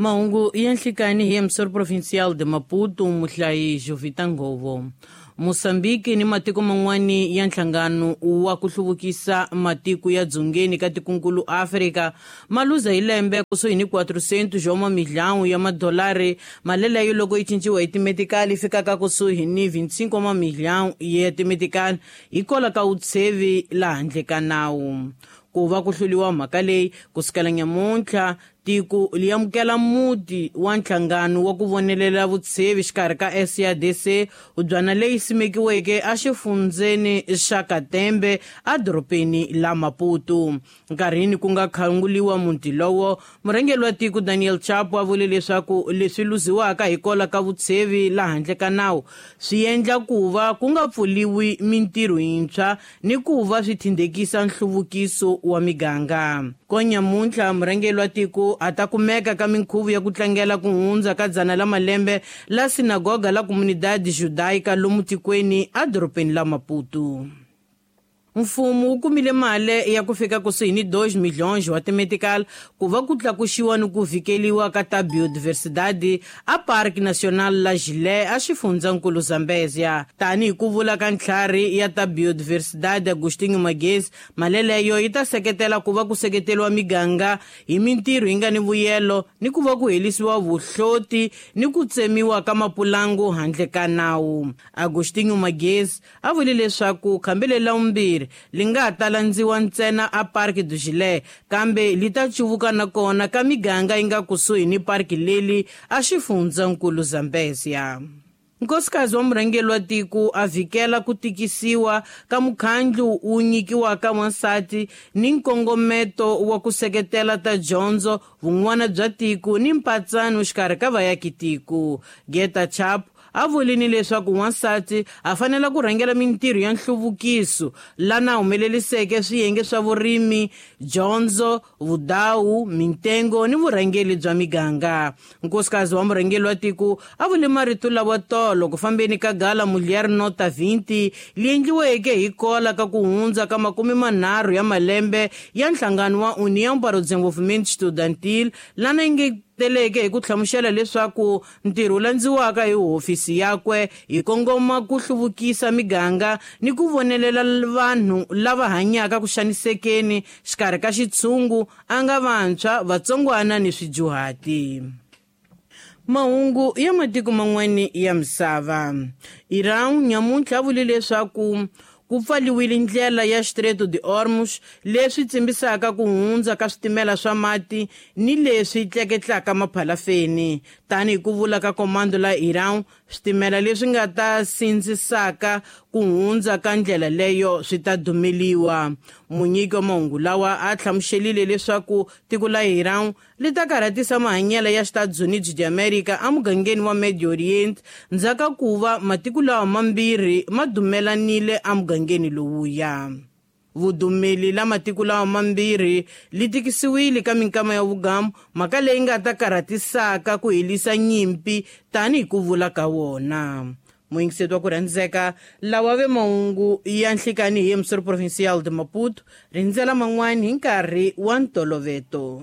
Mahungu ya nhlikani hi emissor provincial de Maputo, muhlayi Jovita Ngovo. Mozambique ni matiko man'wani ya nhlangano wa ku hluvukisa matiko ya dzongeni ka tikunkulu Afrika ma luza hi lembe kusuhi ni 400 wa mamilhão ya madolari, mali leyo loko yi cinciwa hi timetikali yi fikaka kusuhi ni 25 wa mamilhão ya timetikali hikwalaho ka vutshevi laha handle ka nawu. Ku va ku hluliwa mhaka leyi kusukela nyamuntlha tiko li amukela muti wa nhlangano wa ku vonelela vutshevi xikarhi ka SADC, hubyana leyi simekiweke exifundzeni xa Katembe edorobeni la Maputo. Nkarhini ku nga khanguliwa muti lowo, murhangeri wa tiko Daniel Chapo a vule leswaku leswi luziwaka hikwalaho ka vutshevi la handle ka nawu swi endla ku va ku nga pfuliwi mintirho yintshwa ni ku va swi thindekisa nhluvukiso wa miganga. Konyamuntlha murhangeri wa tiko a ta kumeka ka minkhuvo ya ku tlangela ku hundza ka dzana la malembe la sinagoga la Comunidade Judaica lomu tikweni edorobeni la Maputo. Mfumo wu kumile mali ya ku fika kusuhi ni 2 milhões wa timetical ku va ku tlakuxiwa ni ku vhikeliwa ka ta biodiversidade a Parque Nacional la Gilé a xifundzankulu Zambezia. Tanihi ku vula ka ntlhari ya ta biodiversidade Agostinho Magezi, mali leyo yi ta seketela ku va ku seketeriwa miganga hi mintirho yi nga ni vuyelo ni ku va ku helisiwa vuhloti ni ku tsemiwa ka mapulangu handle ka nawu. Agostinho Magezi a vule leswaku khambi leri la vumbirhi li nga ta landziwa ntsena a Parque do Gilé, kambe li ta cuvuka na kona ka miganga yi nga kusuhi ni parki leli a xifundzankulu Zambezia. Nkosikazi wa murhangeri wa tiko a vhikela ku tikisiwa ka mukhandlu wu nyikiwaka wansati ni nkongometo wa ku seketela ta dyondzo, vun'wana bya tiko ni mpatsano xikarhi ka vayaki tiko. Geta Chap a vulini leswaku wansati a fanele ku rhangela mintirho ya nhluvukiso lana humeleliseke swiyenge swa vurimi, dyondzo, vudawu, mintengo ni vurhangeri bya miganga. Nkosikazi wa murhangeri wa tiko a vule marito lawa tolo ku fambeni ka gala Mulher Nota 20 li endliweke hi kola ka ku hundza ka 30 ya malembe ya nhlangano wa União para o Desenvolvimento Estudantil, lana yi teleke hi ku hlamusela leswaku ntirho wu landziwaka hi hofisi yakwe hi kongoma ku hluvukisa miganga ni ku vonelela vanhu lava hanyaka ku xanisekeni xikarhi ka xitshungu a nga vantshwa, vatsongwana ni swidyuhati. Mahungu ya matiko man'wani ya misava. Iran nyamuntlha a vule leswaku ku pfaliwile ndlela ya Strait de Hormuz, leswi tsimbisaka ku hundza ka switimela swa mati ni leswi tleketlaka maphalafeni. Tanihi ku vula ka komando la Iran, switimela leswi nga ta sindzisaka ku hundza ka ndlela leyo swi ta dumeliwa. Munyiki wa mahungu lawa a hlamuselile leswaku tiko la Iran li ta karhatisa mahanyelo ya Estados Unidos de America emugangeni wa Medio Orient ndzhaku ku va matiko lawa mambirhi ma dumelanile emugangeni lowuya. Vudumeli la matiko lawa mambirhi li tikisiwile ka minkama ya vugamu, mhaka leyi nga ta karhatisaka ku helisa nyimpi tanihi ku vula ka wona. Muyingiseti wa ku rhandzeka, lawa ve mahungu ya nhlikani hi emissor provincial de Maputo, rindzela man'wani hi nkarhi wa ntoloveto.